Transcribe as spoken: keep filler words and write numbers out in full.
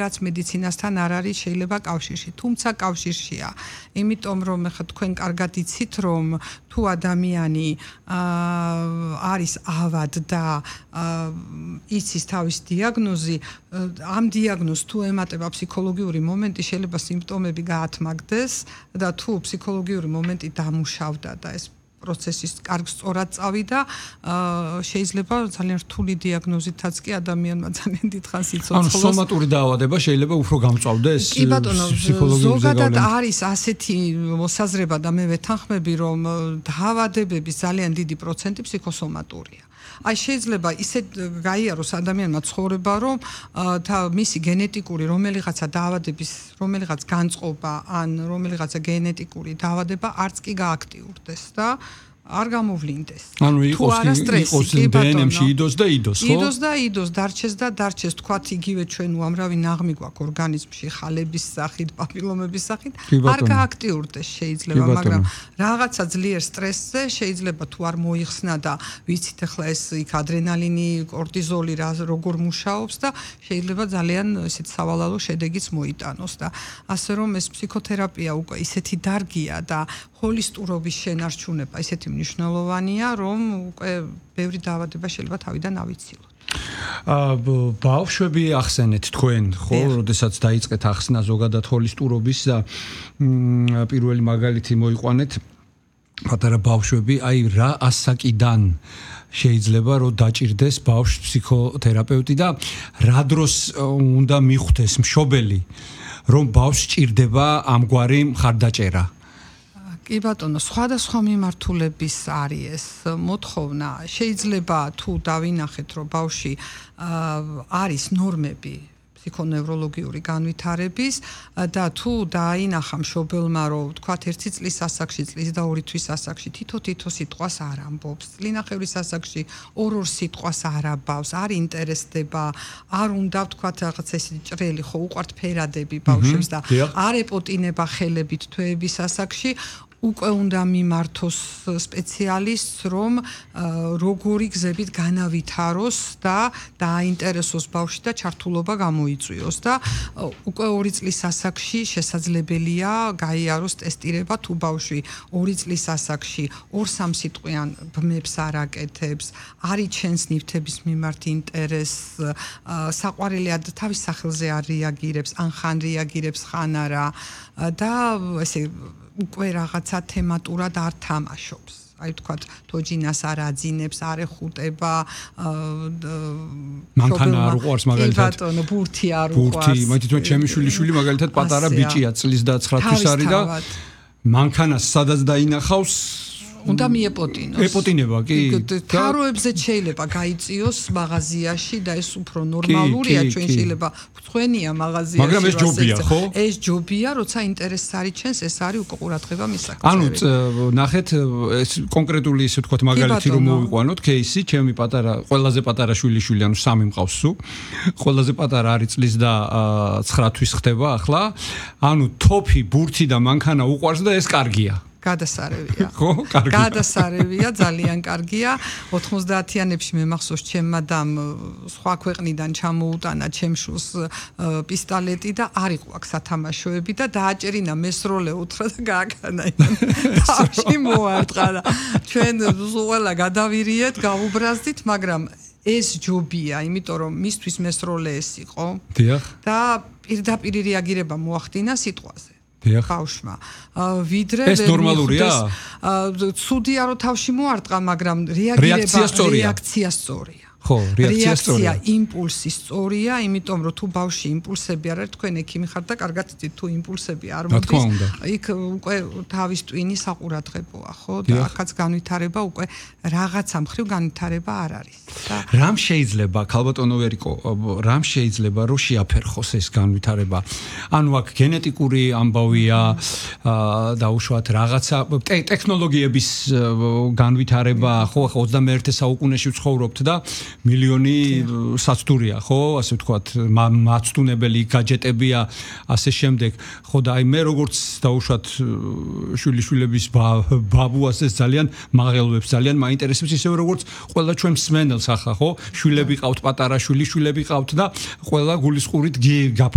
რაც მედიცინასთან არ არის შეიძლება კავშირში, თუმცა კავშირშია. იმიტომ რომ ხა თქვენ კარგად იცით რომ თუ ადამიანი არის ავად და იცის თავის დიაგნოზი, ამ დიაგნოზს თუ ემატება ფსიქოლოგიური მომენტი, შეიძლება სიმპტომები გაათმაგდეს და თუ ფსიქოლოგიური მომენტი დამუშავდა და ეს პროცესის კარგ სწორად წავიდა, შეიძლება ძალიან რთული დიაგნოზითაც კი ადამიანმა ძალიან დიდხანს იცოცხლოს. ანუ სომატური დაავადება შეიძლება უფრო გამწვავდეს კი ბატონო, ზოგადად არის ასეთი მოსაზრება და მე ვეთანხმები, რომ დაავადებების ძალიან დიდი პროცენტი ფსიქოსომატურია. აი შეიძლება ისე გაიაროს ადამიანმა ცხოვრება, რომ მისი გენეტიკური რომელიღაცა დაავადების, რომელიღაც განწყობა ან რომელიღაცა გენეტიკური დაავადება არც კი გააქტიურდეს და არ გამოვლინდეს. ანუ იყოს იყოს დე ენ ემში იდოს და იდოს, ხო? იდოს და იდოს, დარჩეს და დარჩეს, თქვათ იგივე ჩვენ უამრავი ნაღმი გვაქვს ორგანიზმში, ხალების სახით, პაპილომების სახით, არ გააქტიურდეს შეიძლება, მაგრამ რაღაცა ძლიერ სტრესზე შეიძლება თუ არ მოიხსნა და ვიცით ახლა ეს იქ ადრენალინი, კორტიზოლი როგორ მუშაობს და შეიძლება ძალიან ესეთ სავალალო შედეგიც მოიტანოს და ასე რომ ეს ფსიქოთერაპია უკვე ისეთი დარგია და ჰოლისტურობის შენარჩუნება ისეთი მნიშვნელოვანია, რომ უკვე ბევრი დაავადება შეიძლება თავიდან ავიცილოთ. ბავშვები ახსენეთ თქვენ, ხო, როდესაც დაიწყეთ ახსნა ზოგადად ჰოლისტურობის და პირველი მაგალითი მოიყვანეთ, პატარა ბავშვები, აი რა ასაკიდან შეიძლება რომ დაჭირდეს ბავშვს ფსიქოთერაპევტი და რა დროს უნდა მიხვდეს მშობელი, რომ ბავშვს ჭირდება ამგვარი მხარდაჭერა. კი ბატონო, სხვადასხვა მიმართულების არის ეს მოთხოვნა. შეიძლება თუ დავინახეთ, რომ ბავშვი არის ნორმები ფსიქონევროლოგიური განვითარების და თუ დაინახა მშობელმა, რომ თქვათ ერთი წლის ასაკში, წლის და ორი თვის ასაკში თითო-თითო სიტყვას არ ამბობს, წლინახევრის ასაკში ორ-ორ სიტყვას არ აბავს, არ ინტერესდება, არ უნდა თქვათ რაღაც ეს ჭრელი, ხო, უყვართ ფერადები ბავშვებს და არ ეპოტინება ხელებით თვეების ასაკში, უკვე უნდა მიმართოს სპეციალისტს, რომ როგორი გზებით განავითაროს და დააინტერესოს ბავშვი და ჩართულობა გამოიწვიოს და უკვე ორი წლის ასაკში შესაძლებელია გაიაროს ტესტირება, თუ ბავშვი ორი წლის ასაკში ორ-სამ სიტყვიან ბმებს არ აკეთებს, არ იჩენს ნივთების მიმართ ინტერესს, საყვარელი თავის სახელზე არ რეაგირებს, ან ხან რეაგირებს, ხან არა და ესე უკვე რაღაცა თემატურად არ თამაშობს. აი თქვათ, თოჯინას არ აძინებს, არ ეხუტება, მანქანა არ უყვარს მაგალითად. კი ბატონო, ბურთი არ უყვარს. ბურთი, მაგითო ჩემი შვილიშვილი მაგალითად პატარა ბიჭია, წლის და ცხრა თვის არის და მანქანას სადაც დაინახავს უნდა მიეპოტინოს. ეპოტინება, კი. თაროებზე შეიძლება გაიწიოს მაღაზიაში და ეს უფრო ნორმალურია, ჩვენ შეიძლება გვხვენია მაღაზიაში. მაგრამ ეს ჯობია, ხო? ეს ჯობია, როცა ინტერესს არიჩენს, ეს არის უკვე ყურადღება მისაკუთრებით. ანუ ნახეთ, ეს კონკრეტული ისე ვთქვათ მაგალითი რომ მოვიყვანოთ, кейსი, ჩემი პატარა, ყველაზე პატარა შვილიშვილი, ანუ სამი მყავს სულ. ყველაზე პატარა არის წლის და ცხრა თვის ხდება ახლა. ანუ თოფი, ბურთი და მანქანა უყვარს და ეს კარგია. გადასარევია. ხო, კარგია. გადასარევია, ძალიან კარგია. ოთხმოცდაათიანებში მე მახსოვს, ჩემმა დამ სხვა ქვეყნიდან ჩამოუტანა ჩემ შვილს პისტოლეტი და არ იყო აქ სათამაშოები და დააჭერინა მესროლე უთხრა და გააკანა. თავში მოარტყა და ჩვენ ყველა გადავირიეთ, გავუბრაზდით, მაგრამ ეს ჯობია, იმიტომ რომ მისთვის მესროლე ეს იყო. დიახ. და პირდაპირ რეაგირება მოახდინა სიტყვაზე. ბავშვმა. ვიდრე ეს ნორმალურია? ცუდია რომ თავში მოარტყა, მაგრამ რეაგირება რეაქცია სწორია. ხო, რეაქცია სწორია. რეაქცია, იმპულსი სწორია, იმიტომ რომ თუ ბავშვი იმპულსები არ არის, თქვენ ექიმი ხართ და კარგად იცით, თუ იმპულსები არ მოდის, იქ უკვე თავის ტვინი საყურადღებოა, ხო? და აქაც განვითარება უკვე რაღაცა მხრივ განვითარება არ არის. რამ შეიძლება, ქალბატონო ვერიკო, რამ შეიძლება რომ შეაფერხოს ეს განვითარება? ანუ აქ გენეტიკური ამბავია, დაუშვათ რაღაცა ტექნოლოგიების განვითარება, ხო, ახლა ოცდამეერთე საუკუნეში ვცხოვრობთ და მილიონი საცდურია, ხო, ასე ვთქვათ, მაცდუნებელი გაჯეტებია, ასე შემდეგ. ხო და აი მე როგორც დაუშვათ შვილიშვილების ბაბუ ასე ძალიან მაღელვებს, ძალიან მაინტერესებს ისევ როგორც ყველა ჩვენ მსმენელს ახლა, ხო? შვილები ყავთ, პატარა შვილიშვილები ყავთ და ყველა გულისყურით გაფაც